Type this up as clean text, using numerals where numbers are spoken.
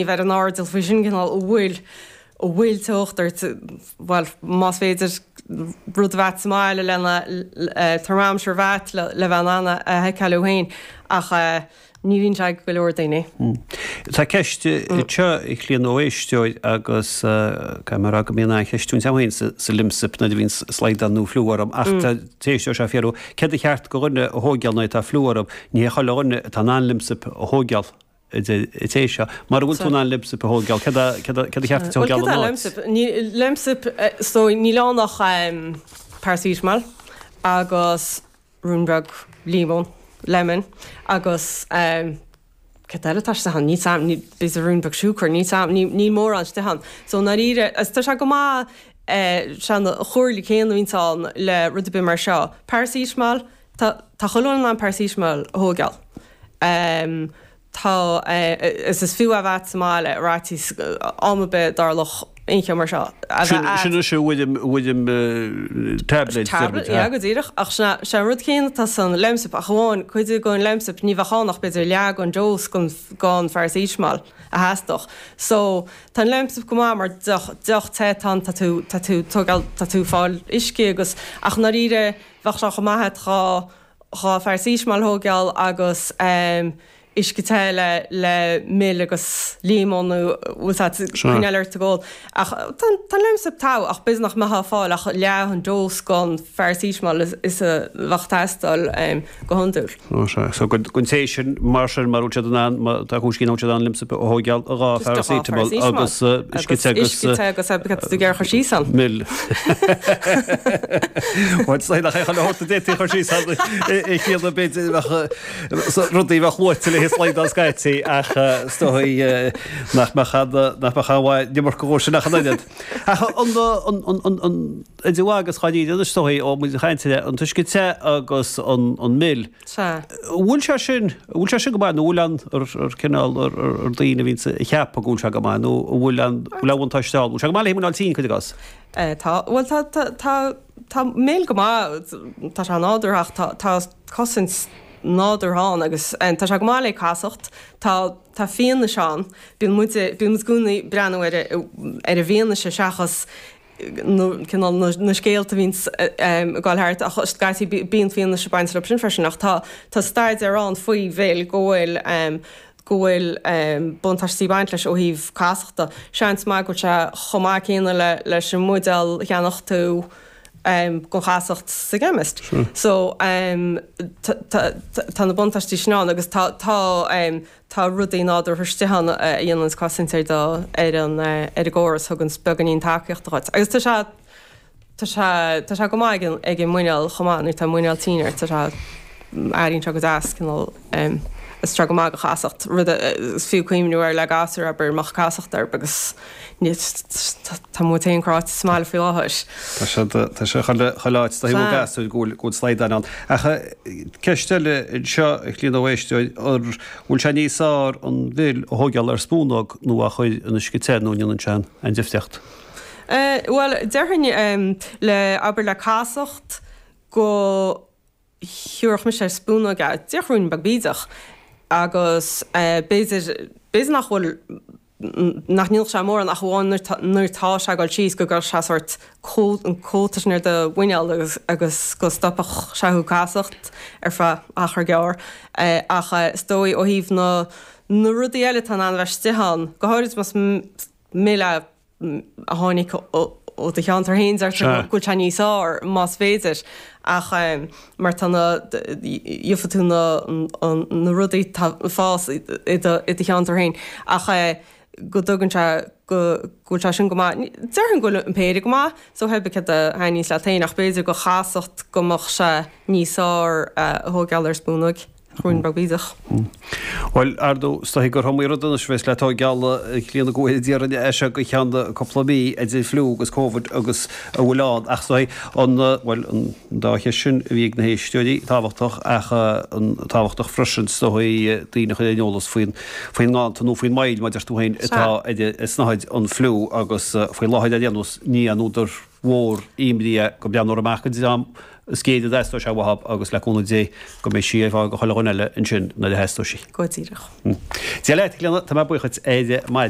Bheith ar an airdeall faoi sin cineál an bhfuil, an bhfuil teocht ort, bhuel, más féidir rud a bheith agat sa mbaile lena, thermometer a bheith agat le bheith in ann a sheiceáil thú féin ach ní bhíonn sé ag go leor daoine. Tá ceist anseo a Chlíona ó éisteoir agus caithfidh mé a rá go mbíonn an-cheist ionam féin sa Lemsip nuair a bhíonn slaghdán nó fliú orm ach tá an t-éisteoir seo ag fiafraí céard ba cheart do dhuine a thóigeáil nuair atá fliú orthu, ní hé chuile dhuine atá in ann Lemsip a thóigeáil. a deir an té seo. Mara bhfuil tú in ann Lemsip a thóigeáil, céard a céard a cheart duit a Bhuel, thóigeáil céard é ina áit? Lemsip? Ní, Lemsip, so níl ann ach paracetamol agus ruainnín beag líomón, lemon, agus céard eile atá istigh ann? Níl 's a'm, ní, b'fhéidir ruainnín beag siúcra, níl 's a'm, ní, níl mórán istigh ann. So i ndáiríre, agus tá sé go maith, sé an chomhairle céanna a bhíonns ann le rud ar bith mar seo. Paracetamol, tá, tá chuile dhuine in ann paracetamol a thóigeáil. Tá, is is fiú é a bheith agat sa mbaile ar fhaitíos am ar bith a dtarlódh aon cheo mar seo. A Sin, bheith sin agat. is i bhfoirm, i bhfoirm tablet, deir muid, Tablet, yeah, go díreach. Ach sin é, sé an rud céanna atá san Lemsip ach amháin cuid den Lemsip ní bheadh ann ach b'fhéidir leath den dose den, den pharacetamol a theastódh. So, tá an Lemsip go maith mar deoch, deoch te atá ann, tá tú, tá tú tógáil, tá tú fáil uisce agus, ach i ndáiríre bheadh sé chomh maith agat dhá, 2 pharacetamol a thóigeáil agus uisce te le le mil agus líomón nó bhfuil 's agat coinneáil ort ag ól. Ach tá an Lemsip togha ach b'fhéidir nach mbeifeá ag fáil ach leath an dose den pharacetamol is a bheadh ag teastáil go hiondúil. Ó sea. So don té sin mar sin mara bhfuil siad in ann má tá cúis nach bhfuil siad in ann Lemsip a thóigeáil 2 pharacetamol agus uisce te agus uisce te agus cad tá tú ag iarraidh a chur síos ann. Mil. Bhuel, is nach é chuile shórt a d'fhéadfaí a chur síos ann a Chlíona b'fhéidir bheadh rudaí bheadh luaite le slaghdán scaití ach is dóigh nach mbeadh an nach mbeadh aon mhaith an iomarca dhó sin ach an oiread. Ach an an an an idir mhaith agus dháiríre anois is dóigh ó muid ag caint ar an t-uisce te agus an an mil. Sea. An bhfuil sé sin, an bhfuil sé sin go maith nó an bhfuil an, ar, ar cineál, ar, ar, ar daoine a bhíonns ag ceapadh go bhfuil sé go maith nó an bhfuil an, bhfuil aon bhuntáiste ann? Bhfuil sé go maith le muineál tinn, cuir i gcás? Eh, tá, bhuel tá, tá, tá, tá mil go maith, tá sé nádúrtha ach tá, tá cosaint nádúrtha ann agus eh, tá sé go maith le casacht, tá, tá fianaise ann, bíonn muid, bíonn muid i gcónaí ag breathnú ar, ar an bhfianaise seachas cineál na scéalta a bhíonns ag dul thart ach scaití bíonn fianaise ag baint leo sin freisin ach tá tá staidéar ann faoi mhil go bhfuil go bhfuil buntáistí ag baint leis ó thaobh casachta. Seans maith go bhfuil sé chomh maith céanna le leis an mbuidéal a cheannódh tú don chasacht sa gceimist. So tá na buntáistí sin ann agus tá tá Tá rudaí nádúrtha istigh ann a dhéananns cosaint ar do, ar an, ar an gcóras, thuganns beagáinín tacaíochta dhuit. Agus tá sé, tá sé, tá sé go maith ag an, ag an muineál chomh maith, nuair atá muineál tinn ort, tá sé, airíonn sé go deas, cineál, is tá sé go maith do chasacht, rud a, is fiú cuimhniú air le gasúir, abair, mbeadh casacht orthu agus ní, tá muid féin cráite sa mbaile faoi láthair. Tá sé, tá sé chuile, chuile áit, tá thaobh gasúir go bhfuil, go bhfuil slaghdán ann. Ach ceist eile anseo, a Chlíona ó éisteoir, an bhfuil sé níos fearr an mhil a thóigeáil ar spúnóg nó á chur in uisce te nó an ndéanann sé aon difríocht? Bhuel, déarfainn le, abair le casacht go thiúrfadh mise ar spúnóg é, díreach ruainnín beag bídeach agus b'fhéidir, b'fhéidir nach bhfuil, nach ndéanfadh sé mórán ach amháin nuair tá, nuair tá sé ag dul síos go gcuirfeadh sé sórt cóta, an cóta sin ar do mhuineál agus, agus go stopfadh sé thú casacht ar feadh achar gearr. Ach is dóigh ó thaobh na, na rudaí eile atá in ann a bheith istigh ann, go háirid más mil é, a tháinig ó do cheantar féin, deirtear go bhfuil sé níos fearr, más féidir, ach mar tá na, gheobhaidh tú na, na rudaí atá ag fás i do, i do cheantar féin, ach go dtugann sé, go bhfuil sé sin go maith. Déarfainn go bhfuil an péire go maith, so pé ar bith céard a thaitníos leat féin, ach b'fhéidir do chasacht go mbeadh sé níos fearr a thóigeáil ar spúnóig. Ruainnín beag bídeach. Bhuel, ar ndóigh, is dóichí gur iomaí rud anois a bheas le tóigeáil a Chlíona go bhfóire Dia orainn as seo go ceann cúpla mí, idir fliú agus Covid agus a bhfuil ann. Ach is dóichí an, bhuel, an dá cheist sin a bhí ag na héisteoirí, tábhachtach ach an tábhachtach freisin is dóichí daoine a chur ar an eolas faoin, faoin nganntan nó faoin moill, mar a deir tú féin, atá ar an tsnáthaid, an fliú agus faoi láthair ar aon nós ní aon údar. mhór imní é go mbreathnófar amach an dream is géire a dteastóidh sé uathub agus le cúnamh Dé go mbeidh sí ar fáil go chuile dhuine eile ansin nuair a theastóidh sí. Go díreach. Dia leat, a Chlíona, tá mé buíoch duit ar maidin.